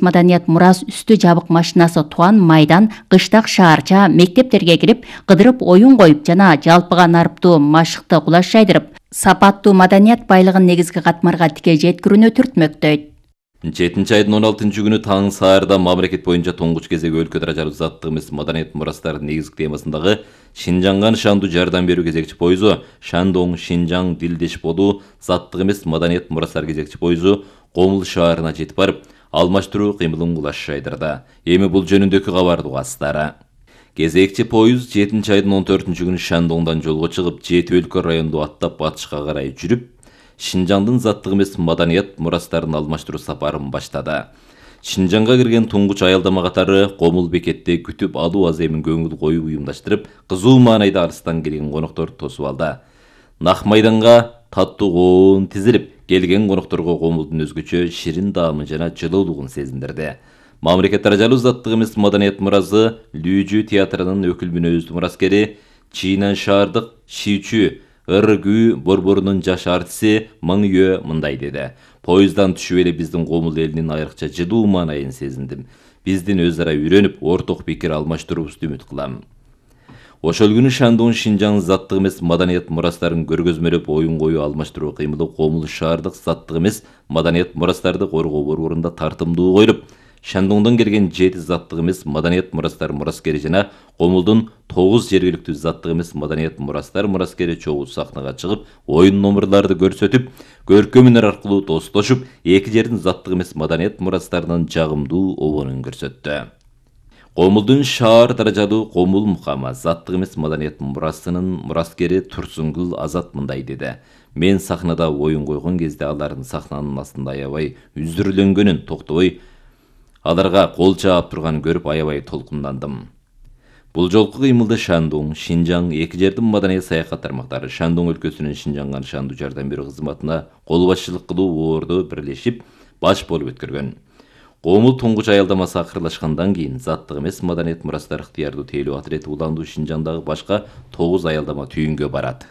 Маданият мурас үстү жабык машинасы Туан майдан, кыштак шаарча, мектептерге кирип, кыдырып оюн коюп жана жалпыга нарыптуу машыкты кулаш жайдырып, сапаттуу маданият байлыгын негизги катмарга тике жеткирүүнү түртмөктөйт. 7 айдын 16 күнү таң саарда мамлекет боюнча туңгуч кезеги өлкө даражалуу заттык эмес маданият мурастарынын негизги темасындагы Шинжаңга Шанду жардам берүү кезекчи пойузу, Шандоң Шинжаң дилдеш болуу заттык эмес маданият мурастар кезекчи пойузу Комул шаарына жетип барып, алмаштыруу кыймылын кулаш жайдырды. Эми бул жөнүндөгү кабарды угасыздар. Кезекчи поюз 7 айдын 14 күнү Шандоңдон жолго чыгып, 7 өлкө районду аттап батышка карай жүрүп, Шинжаңдын заттык эмес маданият мурастарын алмаштыруу сапарын баштады. Шинжаңга кирген туңгуч аялдама катары Комул бекетте күтүп алуу аземин көңүл коюп уюмдаштырып, кызуу маанайда арыстан келген конокторду тосуп алды. Нак майданга таттуу коон тизилип, келген конокторго Комулдун өзгөчө ширин даамын жана жылуулугун сезиндирди. Мамлекет даражалуу заттык эмес маданият муразы Лүүжү театрынын өкүл мүнөздүү мураскери, Чийнан шаардык Шичү Ыргүү борборунун жаш артиси Мыңйө мындай деди. Поюздан түшүп эле биздин Комул элинин айрыкча жылуу маанайын сезиндим. Биздин өз ара үйрөнүп, орток пикир алмаштыруубузду үмүт кылам. Ошол күнү Шандоң Шинжаң заттык эмес маданият мурастарын көргөзмөлөп оюн коюу алмаштыруу кыймылы Комул шаардык заттык эмес маданият мурастарды коргоо борборунда тартымдуу коюлуп, Шандоңдон келген 7 заттык эмес маданият мурастар мураскери жана Комулдун 9 жергиликтүү заттык эмес маданият мурастар мураскери чогуу сахнага чыгып, оюн номерларды көрсөтүп, көркөм өнөр аркылуу достошуп, эки жердин заттык эмес маданият мурастарынын жагымдуу обонун көрсөттү. Комулдун шаар даражалуу Комул мукамы заттык эмес маданият мурасынын мураскери Турсунгул Азат мындай деди. Мен сахнада оюн койгон кезде алардын сахнанын астында аябай үзүрлөнгөнүн, токтобой аларга кол чаап турганын көрүп аябай толкундандым. Бул жолку кыймылды Шандоң, Шинжаң эки жердин маданият саякат тармактары Шандоң өлкөсүнүн Шинжаңга Шанду жардам берүү кызматына кол башчылык кылуу орду бирлешип баш болуп өткөргөн. Комул туңгуч аялдамасы акырлашкандан кийин заттык эмес маданият мурастар ыктыярдуу тейлөө отирети уландуу Шинжаңдагы башка 9 аялдама түйүнгө барат.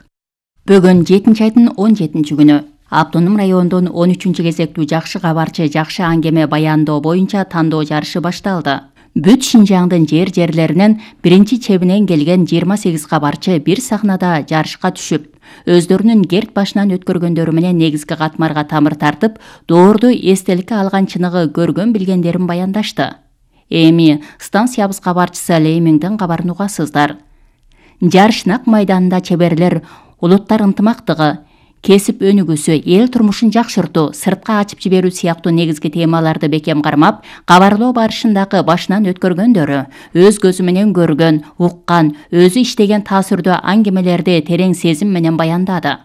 Бүгүн 7 айдын 17 күнү Автоном районунун 13 кезектүү жакшы кабарчы жакшы аңгеме баяндоо боюнча тандоо жарышы башталды. Бүт Шинжаңдын жерлеринен биринчи чебинен келген 28 кабарчы бир сахнада жарышка түшүп, өздөрүнүн керт башынан өткөргөндөрү менен негизги катмарга тамыр тартып, доорду эстеликке алган чыныгы көргөн билгендерин баяндашты. Эми станциябыз кабарчысы Леймиңдин кабарын угасыздар. Жарыш Нак майданында чеберлер улуттар ынтымактыгы, кесип өнүгүүсү, эл турмушун жакшыртуу, сыртка ачып жиберүү сыяктуу негизги темаларды бекем кармап, кабарлоо барышындагы башынан өткөргөндөрү, өз көзү менен көргөн, уккан, өзү иштеген таасирдүү аңгемелерди терең сезим менен баяндады.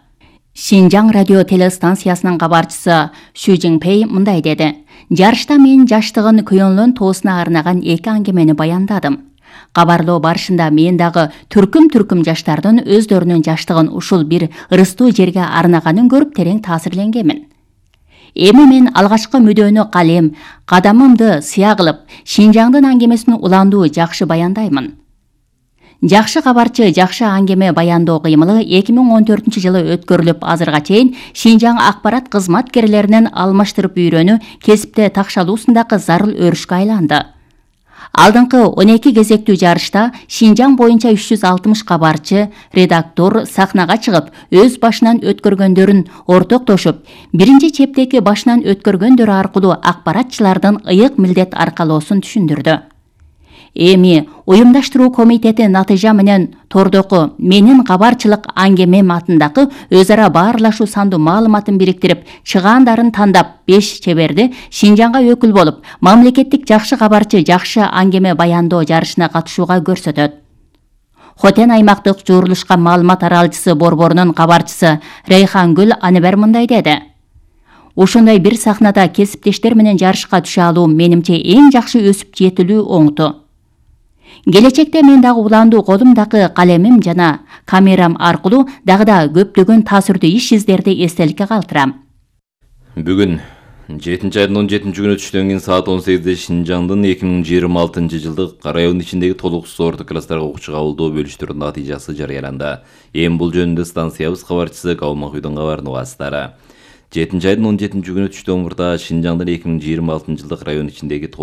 Шинжаң радио телестанциясынын кабарчысы Шу Жиңпей мындай деди. Жарышта мен жаштыгын Күйөнлөн тоосуна арнаган эки аңгемени баяндадым. Кабарлоо барышында мен дагы түркүм жаштардын өздөрүнүн жаштыгын ушул бир ырыстуу жерге арнаганын көрүп терең таасирленгенмин. Эми мен алгачкы мүдөнү калем, кадамымды сыя кылып, Шинжаңдын аңгемесин уландуу жакшы баяндаймын. Жакшы кабарчы жакшы аңгеме баяндоо кыймылы 2014 жылы өткөрүлүп, азырга чейин Шинжаң акпарат кызматкерлеринин алмаштырып үйрөнүү, кесипте такшалуусундагы зарыл өрүшкө айланды. Алдыңкы 12 кезектүү жарышта Шинжаң боюнча 360 кабарчы, редактор сахнага чыгып, өз башынан өткөргөндөрүн ортоктошуп, биринчи чептеги башынан өткөргөндөрү аркылуу акпаратчылардын ыйык милдет аркалоосун түшүндүрдү. Эми уюмдаштыруу комитети натыйжа менен тордоку менин кабарчылык аңгемем атындагы өз ара баарлашуу сандуу маалыматын бириктирип, чыгаандарын тандап 5 чеберди Шинжаңга өкүл болуп, мамлекеттик жакшы кабарчы жакшы аңгеме баяндоо жарышына катышууга көрсөтөт. Хотен аймактык журулушка маалымат аралчысы борборунун кабарчысы Рейхангүл Аныбер мындай деди. Ушундай бир сахнада кесиптештер менен жарышка түшө алуу менимче эң жакшы өсүп жетилүү оңту. Келечекте мен дагы уландуу колумдагы калемим жана камерам аркылуу дагы да көптөгөн таасирдүү иш издерди эстеликке калтырам. Бүгүн 7 айдын 17 күнү түштөн кийин саат 18-де Шинжаңдын 2026 жылдык район ичиндеги толуксуз орто класстарга окуучу кабылдоо бөлүштүрүнүн натыйжасы жарыяланды. Эми бул жөнүндө станциябыз кабарчысы Калмакүйдүн кабарын угасыздар. 7 айдын 17 күнү түштөн мурда Шинжаңдын 2026 жылдык район ичиндеги